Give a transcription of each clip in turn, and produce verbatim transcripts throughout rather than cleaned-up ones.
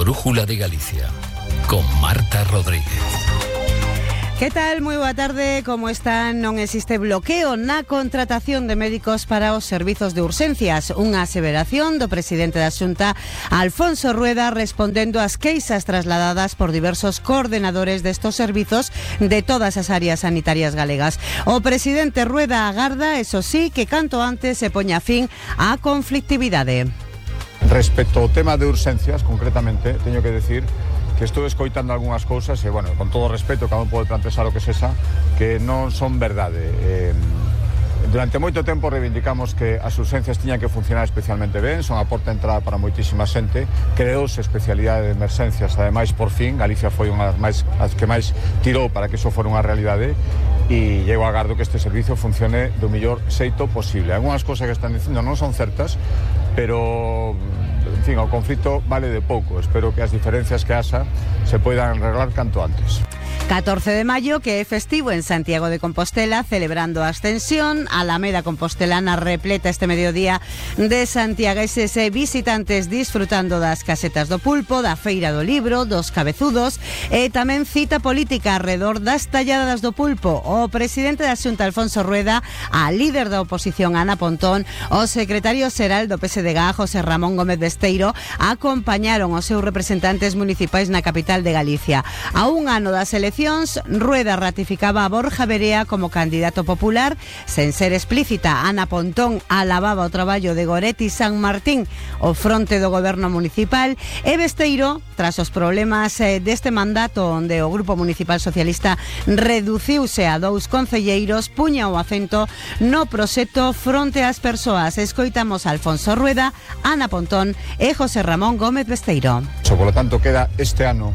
Brújula de Galicia, con Marta Rodríguez. Que tal? Moi boa tarde, como están? Non existe bloqueo na contratación de médicos para os servizos de urxencias. Unha aseveración do presidente da Xunta, Alfonso Rueda, respondendo ás queixas trasladadas por diversos coordenadores destos servizos de todas as áreas sanitarias galegas. O presidente Rueda agarda, eso sí, que canto antes se poña fin á conflictividade. Respecto ao tema de urxencias, concretamente, teño que decir que estou escoitando algunhas cousas e, bueno, con todo o respeto, cada un pode plantear o que sexa, que non son verdade. Eh, durante moito tempo reivindicamos que as urxencias tiñan que funcionar especialmente ben, son a porta de entrada para moitísima xente, creouse especialidade de emerxencias, ademais, por fin, Galicia foi unha das máis, as que máis tirou para que iso fora unha realidade, e eu agardo que este servicio funcione do mellor xeito posible. Algúnas cousas que están dicindo non son certas, pero, en fin, o conflito vale de pouco. Espero que as diferencias que haxa se poidan arreglar canto antes. catorce de maio, que é festivo en Santiago de Compostela, celebrando a Ascensión. Alameda Compostelana repleta este mediodía de santiagueses e visitantes disfrutando das casetas do pulpo, da feira do libro, dos cabezudos e tamén cita política alrededor das talladas do pulpo. O presidente da Xunta, Alfonso Rueda, a líder da oposición, Ana Pontón, o secretario xeral do P S D G, José Ramón Gómez Besteiro, acompañaron os seus representantes municipais na capital de Galicia. A un ano das eleccións, Rueda ratificaba a Borja Verea como candidato popular. Sen ser explícita, Ana Pontón alababa o traballo de Goretti San Martín o fronte do goberno municipal, e Besteiro, tras os problemas eh, deste mandato onde o Grupo Municipal Socialista reduciuse a dous concelleiros, puña o acento no proxecto fronte ás persoas. Escoitamos a Alfonso Rueda, Ana Pontón e José Ramón Gómez Besteiro. Por lo tanto, queda este ano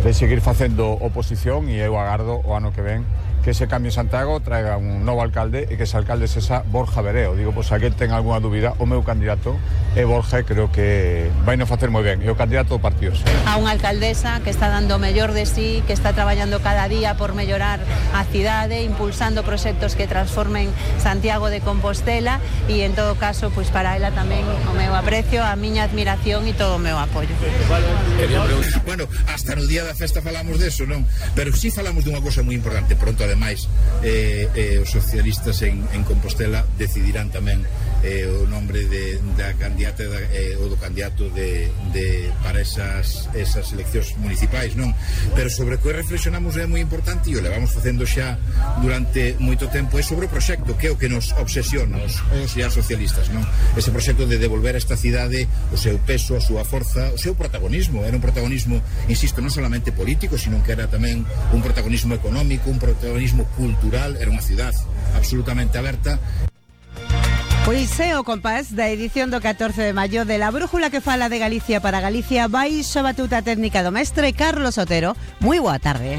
de seguir facendo oposición, e eu agardo o ano que ven que ese cambio en Santiago traiga un novo alcalde e que ese alcalde sexa Borja Vereo. Digo, pois, pues, aquel ten algunha dúbida, o meu candidato é Borja, creo que vai non facer moi ben, é o candidato do partido. A unha alcaldesa que está dando o mellor de sí, que está traballando cada día por mellorar a cidade, impulsando proxectos que transformen Santiago de Compostela, e en todo caso, pois, para ela tamén o meu aprecio, a miña admiración e todo o meu apoio. Bueno, hasta no día da festa falamos deso, non? Pero sí falamos dunha cosa moi importante. Pronto, ademais, eh, eh, os socialistas en, en Compostela decidirán tamén eh, o nombre de, da candidata da, eh, ou do candidato de, de, para esas, esas eleccións municipais, non? Pero sobre o que reflexionamos é moi importante, e o levamos facendo xa durante moito tempo, é sobre o proxecto, que é o que nos obsesiona os, os e as socialistas, non? Ese proxecto de devolver a esta cidade o seu peso, a súa forza, o seu protagonismo. Era un protagonismo, insisto, non solamente político, sino que era tamén un protagonismo económico, un protagonismo cultural. Era unha cidade absolutamente aberta. Pois é o compás da edición do catorce de maio de La Brújula, que fala de Galicia para Galicia. Baixo a batuta técnica do mestre Carlos Otero. Moi boa tarde.